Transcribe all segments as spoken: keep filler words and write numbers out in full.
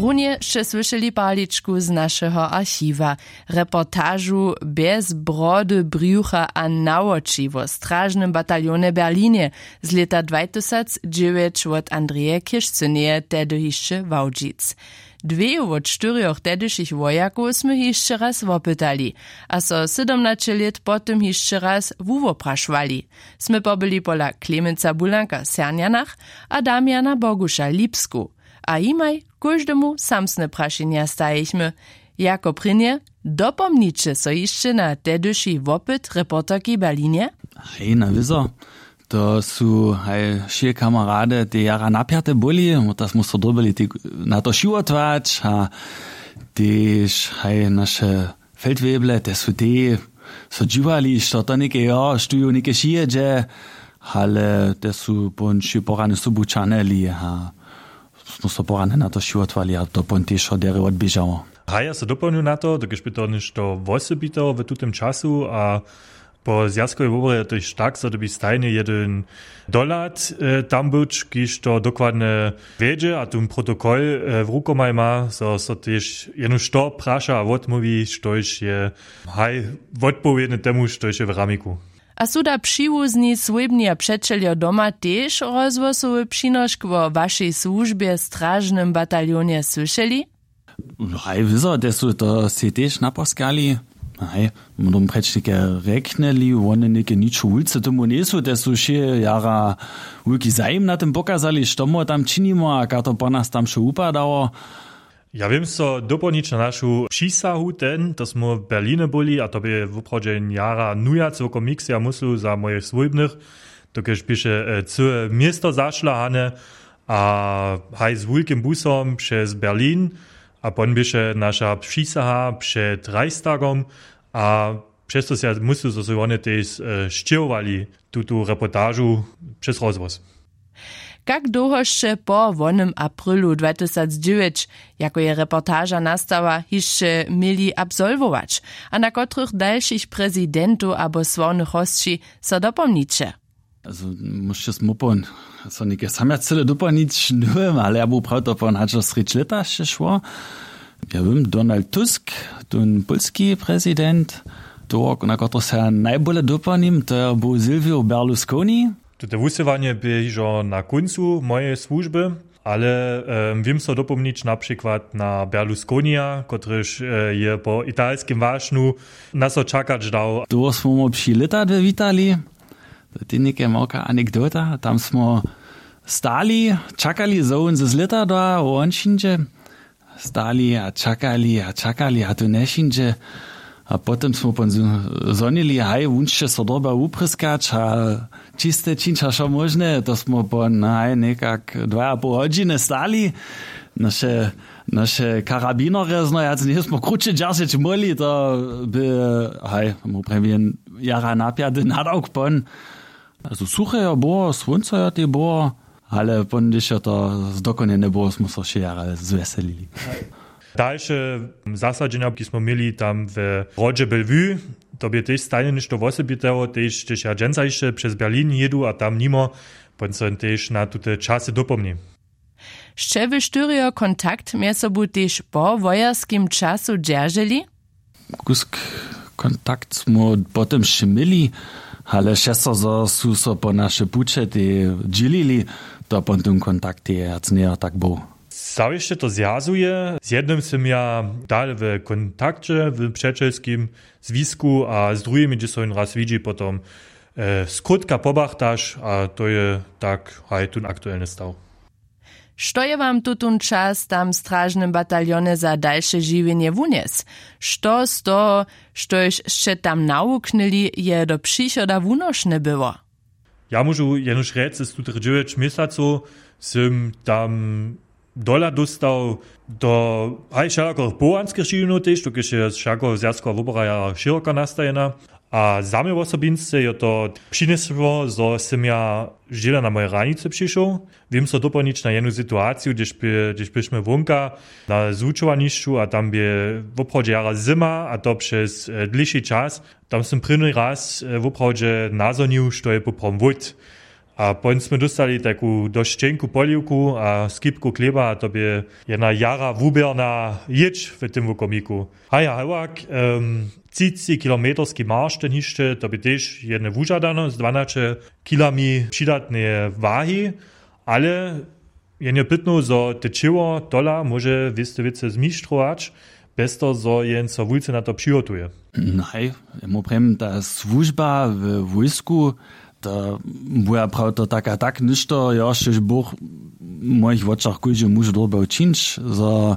Runje sće słyšeli parličku z našeho archiwa, reportažu bjez brody, brjucha a na woči wo stražnym batalionje w Berlinje z lěta dwajtysacdźewjeć wot Andreje Kěšcyneje, tehdy hišće Wałdźic. Dweju wot štyrjoch tehdyšich wojakow smy hišće raz wopytali a so sydomnaće lět po tym hišće raz wuwoprašowali. Smy pobyli pola Klemenca Bulanka w Sernjanach a Damiana Boguša w Lipsku. A jimaj kóždemu samsne prašenja stajichmy. Jako prěnje: dopomniće so hišće na tehdyši wopyt reporterki w Berlinje? Hej, na wězo. To su haj wšě kamarady, te jara napjate byli, to smo so dyrbjeli te-, na to přiwotwać a tež haj naše Feldweble, te su te so dźiwali, što to něke jo, štó ju něke přijědźe, ale te su pon wšě porane sobu čanjeli a smo so porane na to přiwotwali a to pon tež so derje wotběžało. Haj, ja so dopomnju na to, dokelž by to něšto wosebiteho w tutym času a po zwjazkowej woborje je to tež tak, zo dyrbi stajnje jedyn dohlad, e, tam być, kiž to dokładnje wjedźe a tón protokol, e, w rukomaj ma, zo so tež jenož to praša a wotmołwi, štož je haj wotpowědne temu, štož je w ramiku. A su da přiwuzni, swójbni a přećeljo doma tež rozhłosowy přinošk wo wašej słužbje w stražnym batalionje słyšeli? Haj, wězo, te su to sej tež naposkali. Haj, młodom prjeć něke rjeknjeli, wone něke ničo wulce tomu njejsu, te su wšě jara wulki zajim na tym pokazali, što my tam činimy a kak to po nas tam wšo wupadało. Ja wěm so dopolnić na našu přisahu, ten, to smo w Berlinje byli a to bě woprawdźe jara nujacy woko miks, ja myslu, za mojich swójbnych, dokelž běše, e, cyłe město zašlahane a haj z wulkim busom přez Berlin a pon běše naša přisaha před Reichstagom a přez to sej ja myslu, zo su wone tež, e, sćěhowali tutu reportažu přez rozhłos. Kak dołho sće po wonym aprylu dwatysacdźewjeć, jako je reportaža nastała, hišće měli absolwować a na kotrych dalšich prezidentow abo sławnych hosći so dopomniće? Also, móžeće smopon so něke samja cyle dopolnić, nywěm, ale ja bu praw to pon hač do srjedź lěta sće šło. Ja wěm, Donald Tusk, tón pólski prezident, to, na kotreho so ja najbóle dopomnim, to je był Silvio Berlusconi. Tute wusyłanje bě hižo na kóncu mojeje słužby, ale, em, wěm so dopomnić na přikład na Berlusconija, kotryž, e, je po italskim wašnu na so čakać dał. Toho smo mu při lětadle witali. To je něke małka anekdota. Tam smo stali, čakali, zo wón z lětadła won přińdźe. Stali a čakali a čakali a to njepřińdźe. A potom smo pon z-, zhonili, haj, wón sće so dyrba wuprěskać a čiste čińć a wšo móžne. To smo pon, haj, někak dwa a poł hodźiny stali. Naše, naše karabinerje, no, ja, njejsmo kruće dźeržeć móhli, to by, haj, móhł prjewjen jara napjaty nadawk pon. Also suche jo było, słónco jo tej było, ale pon, hdyž jo to zdokonjene było, smo so wšě jara zwjeselili. Dalše zasadźenja, ki smo měli tam we Hrodźe Bellevue, to bě tež stajnje něšto wosebiteho, tež, tež ja dźensa hišće přez Berlin jědu a tam nimo, pon so tež na tute časy dopomni. Sće wy štyrjo kontakt mjez sobu tež po wojerskim času dźerželi? Kusk kontakt smo potom sće měli, ale wšesto, zo su so po naše puće tej dźělili, to potom kontakt je wjac njejo tak był. Zawěsće to zwjazuje. Z jednym sym ja dal w kontakće w přećelskim zwisku a z druhimi, hdźež so jón raz widźi, potom, e, skrótka pobachtaš a to je tak haj tón aktuelny staw. Što je wam tutón čas tam w stražnym batalionje za dalše žiwjenje wunjesł? Što z toho, štož sće tam nawuknyli, je do přichoda wunošne było? Ja móžu jenož rjec, z tutych dźewjeć měsacow sym tam dola dóstał do, haj, wšelakich powołanskich žiwjenjow tež, dokelž je wšako zwjazkowa wobora jara šěroko nastajena. A za mnje wosobinsce je to přinjesło, zo sym ja ždźěla na moje hranicy přišoł. Wěm so dopolnić na jednu situaciju, hdźež bě-, hdźež běšmy wonka na zwučowanišću a tam bě woprawdźe jara zima, a to přez, e, dlěši čas. Tam sym prěni raz, e, woprawdźe nazhonił, što je poprawom wót. A pón smy dóstali taku dosć ćenku poliwku a skipku chlěba a to bě jedna jara wuběrna jědź w tym wukomiku. Haja hewak, třiceći kilometerski marš ten hišće to bě tež jedne wužadano z dwanaće kilami přidatneje wahi, ale jen je pytnął zo te ćěło tola móže wěste wěce zmištrować, bjez toho zo jen so wulce na to přihotuje. Naj, ja mu prjem ta słužba w wójsku, to była praw to tak a tak něšto jo štož bóh w mojich wočach kóždy muž dórbał čińć zo,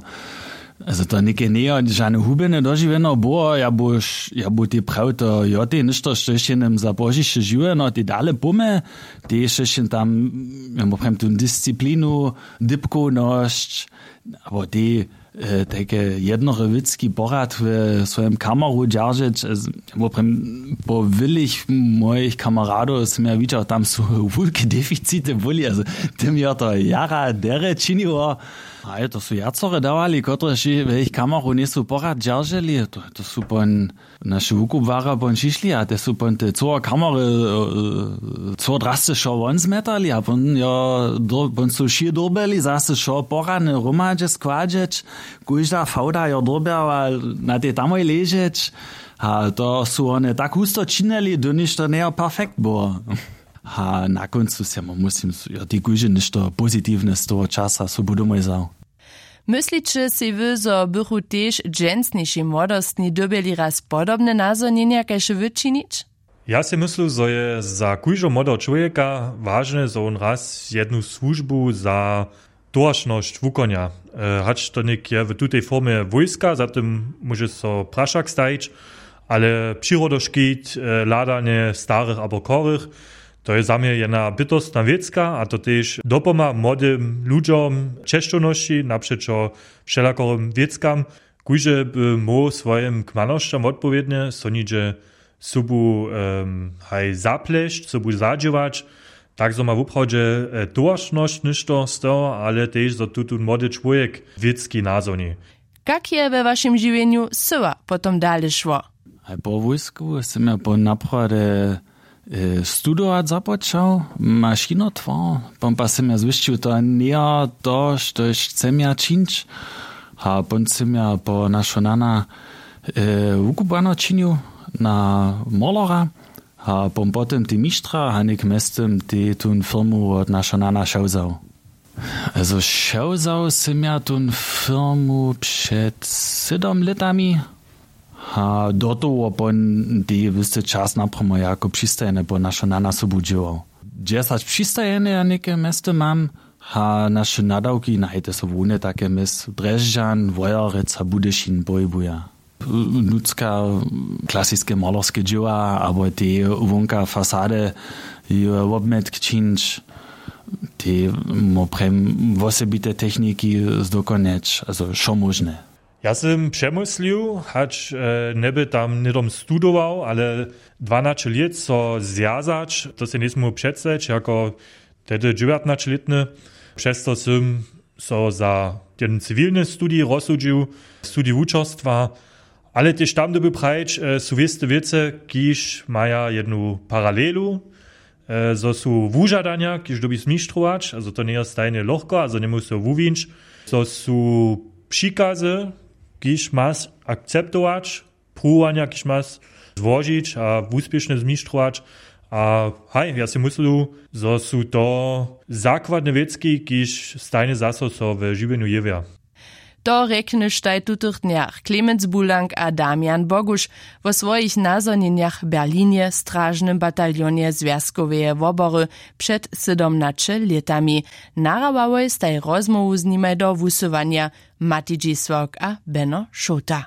zo to něke njejo žane hubjene dožiwjeno było ja bu ja bu tej praw to jo tej něšto štož je nam za požišće žiwjeno tej dale pómy, tež hišće tam ja mu prjem tu disciplinu, dypkownosć, abo tej tajke jednore wěcki porad w swojim kameru dźeržeć. Woprjem po wylych mojich kameradow sym ja widźał tam su wulke deficity byli a tym jo to jara derje činiło. A je to su wjacore dawali kotrež we jich kameru njejsu porad dźerželi to su pon naše wukubłarjo pon přišli a te su pon te coho kamery coho drasce wšo won zmjetali a pon jo pon su wši dórbjeli zaso wšo porany hromadźe składźeć. Kóžda fałda jo dórbjała na tej tamoj ležeć. A to su wone tak husto činili dyrniž to njejo perfekt było. A na kóncu sej ja muslim jo tej kóždy něšto pozitiwne z toho časa sobu domoj wzał. Mysliće sej wy zo bychu tež dźensniši młodostni dyrbjeli raz podobne nazhonjenja kaž wy činić? Ja sej myslu zo je za kóždeho młodeho čłowjeka wažne zo wón raz jednu słužbu za towaršnosć wukonja. Hač to něk je w tutej formje wójska za tym móže so prašak stajić, ale přirodoškit hladanje starych abo chorych, to je za mnje jedna bytostna wěcka a to tež dopomha młodym ludźom česćownosći napřećo wšelakorym wěckam. Kóždy by móhł swojim kmanosćam wotpowědnje so něhdźe sobu haj zaplesć sobu zadźěłać, tak zo ma wuprawdźe towaršnosć něšto z toho ale tež zo tutón młody čłowjek wěcki nazhoni. Kak je we wašim žiwjenju syła potom dale šło? Haj po wójsku sym ja po naprady studować započał mašinotwar. Pon pa sym ja zwyšćił to njejo to štož chcem ja čińć. A pon sym ja po našo nana wukubłano činił na molora. A pon po tym tej mištra a něk mjeztym tej tón firmu wot našo nana wšewzał. Zo wšewzał sym ja tón firmu před sydom lětami. A do toho pon tej wysty čas napramo jako přistajeny po našo nana sobu dźěłał. Dźesać přistajeny ja něke mjeztym mam. A naše nadawki najte so hłowne take mjez drježdźan wojereca budyšin pohibuja. Nutřka klasiske malerske dźěła abo tej wonka fasady je wobmjetk čińć, tej moprjem wosebite techniki zdokonjeć azo wšo móžne. Ja sym přemyslił hač njeby tam hnydom studował ale dwanaće lět so zwjazać to sej njejsmy móhł předstajić jako tehdy dźewjatnaćelětny. Přez to sym so za jedyn ciwilny studij rozsudźił, studij wučerstwa. Ale tež tam dyrbju prajić su wěste wěcy kiž maja jednu paralelu, zo su wužadanja kiž dyrbiš zmištrować a zo to njeje stajnje lochko a zo njemóžeš so wuwińć, zo su přikazy kiž maš akceptować, pruwowanja kiž maš złožić a wuspěšnje zmištrować. A haj ja sej myslu zo su to zakładne wěcki kiž stajnje zaso so w žiwjenju jěwja. To rjeknyštaj w tutych dnjach clemens bulank a damian boguš. Wo swojich nazhonjenjach w berlinje w stražnym bataljonje zwjazkoweje wobory před sydomnaće lětami. Nahrabałoj staj rozmołwu z nimaj do wusyłanja. Mati dźisławk a beno šołta.